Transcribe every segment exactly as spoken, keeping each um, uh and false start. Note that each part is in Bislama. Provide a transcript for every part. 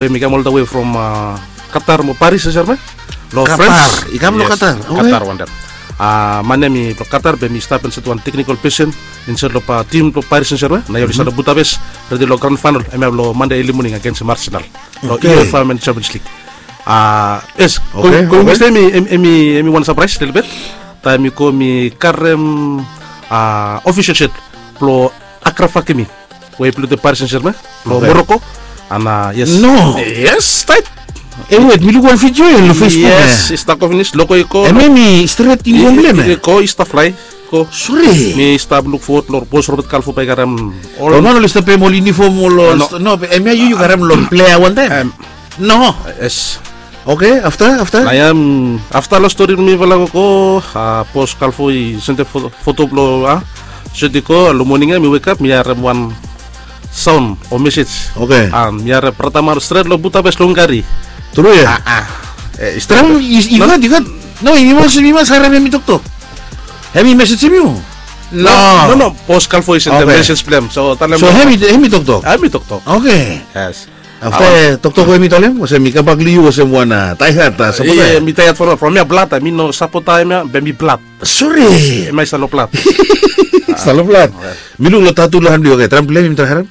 Be mi kam ol da we from Qatar mo Paris, sir, me? Lo Qatar. I kam lo Qatar. Qatar wan taim. Man ya mi blo Qatar be mi stap insait wan teknikol pesen insait lo tim blo Paris, sir, me? Na ya oli stap lo Budapest redi lo gran fainal em ya blo Mande eli moning agens Arsenal lo UEFA Women Champions League. Yes, going Wednesday em i wan surprise lelebet. Taim mi go mi karem official shirt blo Achraf Hakimi we i pilot Paris Saint-Germain lo Morocco. Ana yes. No. Yes, tight. E wet, mi luk wan video ya lo Facebook. Yes, i stap go finis, logo i go. Em em i stret i go blem ya. Go i stap fly. Go. Sore. Mi stap luk forward lo bos Robert Kalfo bae i karem ol. Ol man oli stap pem ol uniform ol. No, em ya yu yu karem lo plea wantaem. No. Yes. Oke, afta, afta? Na ya afta lo stori mi vala gogo, bos Kalfo i sendem foto blo a, seti go lo moning ya mi wekap mi harem wan saon o mesej. Oke. Mi harem brata Maro stret lo Budapest lo Hungary. Tru ya? Stret? I gat, i gat. No, i mas, i mas harem hem i toktok. Hem i mesejem yu? No, no, bos Kalfo i sendem mesej blo hem. So talem. So hem i toktok? Hem i toktok. Oke. Yes. Afta toktok we mi talem olsem mi kambak long yu olsem wan taihat sapota. Mi taihat from ya blad, mi no sapota hemia be mi blad. Sore. Hemia i stap long blad. Stap long blad. Mi luk long tatu long han blong yu. Oke, traem blem mi traem harem.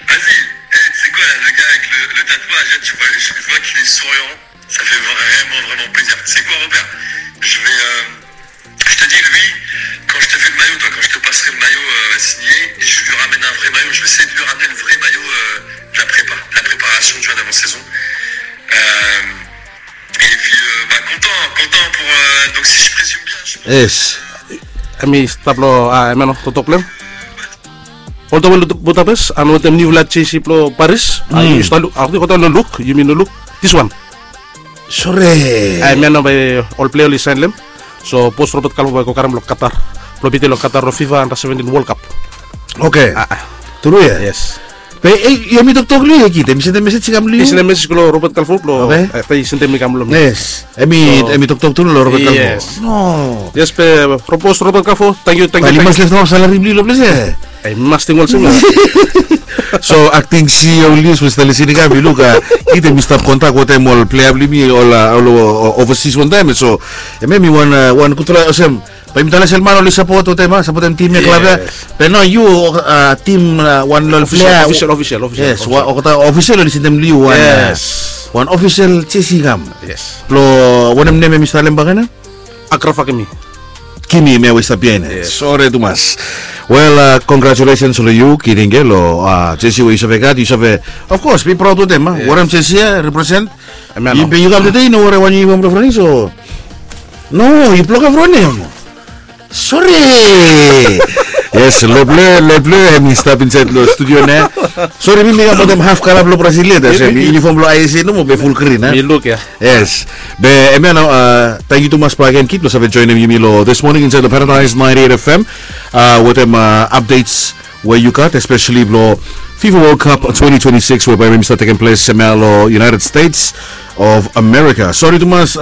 Vas-y, eh, tu sais quoi, là, le gars avec le, le tatouage, là, tu vois, je, je vois qu'il est souriant. Ça fait vraiment, vraiment plaisir. Tu sais quoi, Robert ? Je vais, euh, je te dis, lui, quand je te fais le maillot, toi, quand je te passerai le maillot, euh, signé, je lui ramène un vrai maillot. Je vais essayer de lui ramener le vrai maillot, euh, de la prépa, de la préparation, tu vois, d'avant-saison. Euh, et puis, euh, bah, content, content pour, euh, donc, si je présume bien, je pense. Yes. Hemi stap long, ah, hemia no toktok blong hem. Oltaem long Budapest and wetem niufala jersey blong Paris. Yu stap luk, akting oltaem no luk, yumi no luk. This one. Sore. Hemia nao bae ol plea oli saen long hem. So bos Robert Kalfo bae i go karem long Qatar blong pitao long Qatar long FIFA Under seventeen World Cup. Oke. Tru ya? Yes. Be hemi toktok long yu ya, kid? Hemi sendem mesej i kam long yu? I sendem mesej go long Robert Kalfo blong, afta i sendem i kam long mi. Yes. Hemi toktok tru long Robert Kalfo. Yes. No. Yes, be bos Robert Kalfo, tangkiu, tangkiu. Bae i mas leftem salari blong yu long ples ya. Hemi mas ting olsem ya. So akting CEO Lius we i stap lisin i kam, yu luk, kid hemi stap kontak wetem ol plea blong yumi ol, ol overseas wantaem. So hemia hemi wan, wan gudfala olsem. Bae yumi talem olsem man oli sapot wetem, a, sapotem tim ya, klab ya. Be nao yu, tim, wan long ol plea. Official, official, official. Yes, olgeta official oli sendem long yu wan, wan official jersey i kam. Yes. Blong wanem nem hemi stap long hem bakegen? Achraf Hakimi. Kimi, hemia we i stap biaen ya. Yes. Sore tumas. Wel, congratulations long yu, kid, long jersey we yu save gat, yu save, of course, be proud wetem, a. Wanem jersey ya represent. Be yu kam tede yu no werim wan yunifom blong Froning, so. No, yu blokap Froning. Sore. Yes, lo blong, lo blong hemi stap insaed long studio nao. Sore, mi mi kam wetem haf kala blong Brazil ya, olsem yunifom blong ISA nomo be ful grin, a. Mi luk ya. Yes. Be hemia nao, tangkiu tumas bakegen, kid, blong save joenem yumi long This Morning insaed long Paradise ninety-eight FM, wetem updates we yu gat, especially blong FIFA World Cup twenty twenty-six we bae hemi stap tekem ples hemia long United States of America. Sore tumas,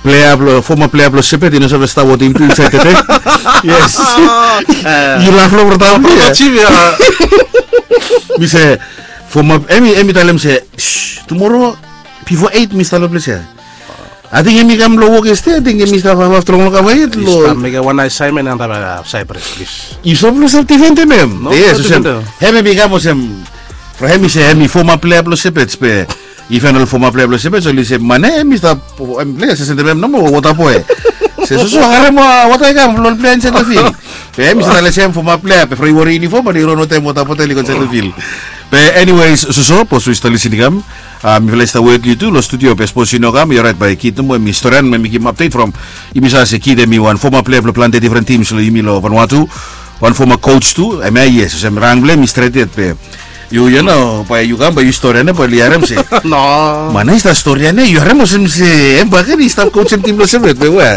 plea blong, foma plea blong Sepet i no save stap wetem yumi tu insaed tede. Yes. Yu laf long brata. Mi se, foma, hemi, hemi talem se, tumoro bifo eit mi stap long ples ya. Ating hemi kam long wok yestede, ating hemi stap hafhaf strong long kava yet long. I stap mekem wan asaenmen antap Cyprus, plis. Yu stap long stap difendem hem. No, yes, olsem. Hem hemi kam olsem. From hemi se hemi foma plea blong Sepet be. Iven ol foma plea blong Sepet oli se man ya hemi stap, hemi plea se sendem hem nomo wota boe. Se soso harem wota i kam long ol plea insaed long fil. Be hemi stap talem se hem foma plea be from i werim yunifom and i ron wetem wota botel i go insaed long fil. Be anyways, soso, bos we i stap lisin i kam. Mifala i stap wet long yu tu long studio be sapos yu no kam, i oraet, bae kid nomo hemi storian, hemi givim update from. Yumi save se kid hemi wan foma plea blong plante difren tims long yumi long Vanuatu. Wan foma coach tu, hemia yes, olsem rang blong hem i stret yet be. Yu, yu no, bae yu kam bae yu storian ya bae oli harem se. No. Man ya i stap storian ya, yu harem olsem se hem bakegen i stap coachem tim blong Sepet be we.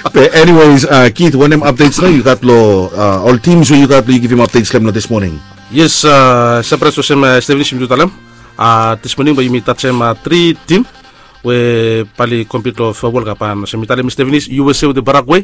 Be anyways, kid, wanem updates nao yu gat long ol tims we yu gat blong yu givim updates long hem long this morning? Yes, surprise olsem Stephanie, yumi tu talem. This morning bae yumi tajem tri tim. we bali komplit long fobol ka ban olsem mi talim mi stevenis usa wetem paraguay.